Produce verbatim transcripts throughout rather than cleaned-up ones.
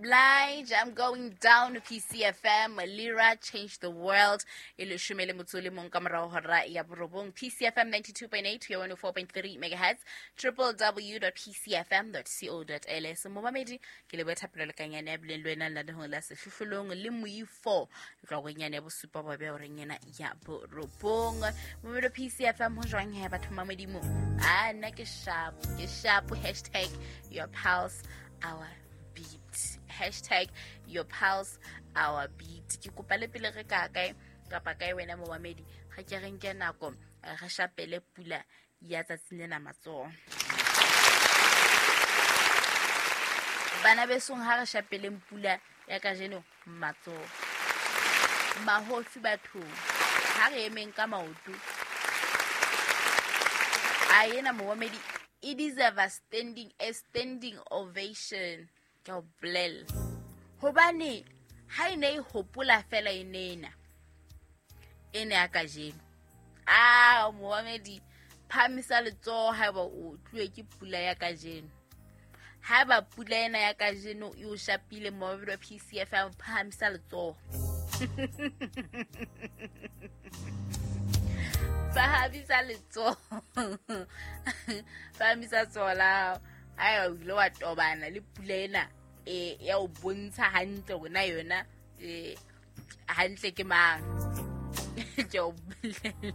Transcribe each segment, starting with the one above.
Blige, I'm going down. P C F M, Lira, Change the World. E leshome le motso le mong ka morao hora ya borobong. P C F M ninety-two point eight to one oh four point three megahertz, w w w dot p c f m dot co dot l s. Momamedi, ke le bothapelo le kanyane ya bileng le wena lenanehong la Sehlohlolong le Moifo. Tloha ya bosupa ba be horeng ena ya borobong. Momamedi P C F M, ho jwang he batho ba Modimo? A nna ke sharp, ke sharp. Hashtag your pulse, our beat. Hashtag your pulse, our beat. Ke kopa le pele re ka kae kapa kae, wena momamedi, ga ke re nke nako eh, re shapele pula ya tsatsing lena matsoho. Bana besong, ha re shapeleng pula ya kajeno matsoho. Mahofi bathong, ha re emeng ka maoto. A ena momamedi e deserve a standing a standing ovation, ke a o bolella, hobane ha e ne e hopola fela e nena e ne ya kajeno. A momamedi, phahamisa letsoho haeba o tluwe ke pula ya kajeno. Haeba pula ena ya kajeno e o shapile, momamedi wa P C F M, phahamisa letsoho, phahamisa letsoho, phahamisa letsoho la hao haeba o ile wa tobana le pula ena e ya o bontsha hantle hore na yona eh hantle ke mang. Ke o bolella.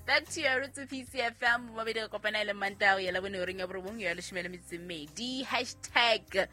Back to your roots, P C F M. Mabedi re kopana e le Mantaha ya Labone horeng ya borobong ya leshome le metso e mmedi. Hashtag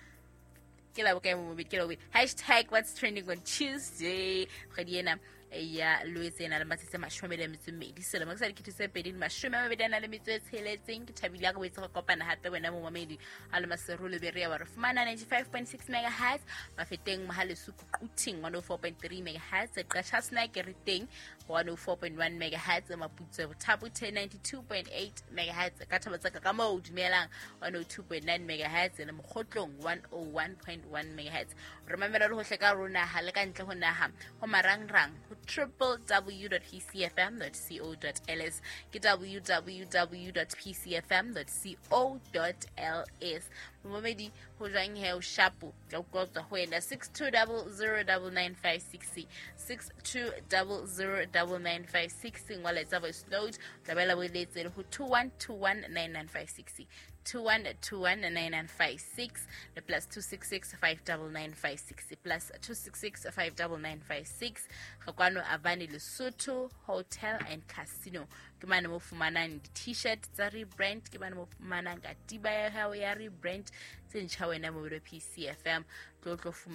ke la bokae, momamedi? Ke la bobedi. Hashtag what's trending on Tuesday. Kgwedi ena ya Loetse e na le matsatsi a mashome a mabedi a metso e mmedi, selemo ke sa dikete tse pedi le mashome a mabedi a na le metso e tsheletseng. Ke thabile ha re boetse re kopana hape, wena momamedi. A le Maseru le Berea wa re fumana ninety-five point six megahertz, Mafeteng, Mohale'shoek, Quthing one oh four point three megahertz, Qacha's Nek re teng one oh four point one megahertz, Maputsoe Botha-Bothe ninety-two point eight megahertz, ka thaba tsa ka moo dumelang one oh two point nine megahertz, le Mokhotlong one oh one point one megahertz. Re mamela le hohle ka rona ha le ka ntle ho naha ho marangrang ho w w w dot p c f m dot co dot l s, ke w w w dot p c f m dot co dot l s. Momamedi, ho jwang he? O shapo? Ke utlwa ho tswa ho wena. six two zero zero nine nine five six, six two zero zero nine nine five six. Ngola, etsa voice note, tla bo letse le ho two one two one nine nine five six, two one two one nine nine five six, le plus two six six five nine nine five six, plus two six six five nine nine five six. Re kwano Avani Lesotho Hotel and Casino. Ke mane mo fumanang di-T-shirt tsa rebrand, ke mane mo fumanang katiba ya hao ya rebrand tse ntjha, wena mo P C F M. Tlo tlo.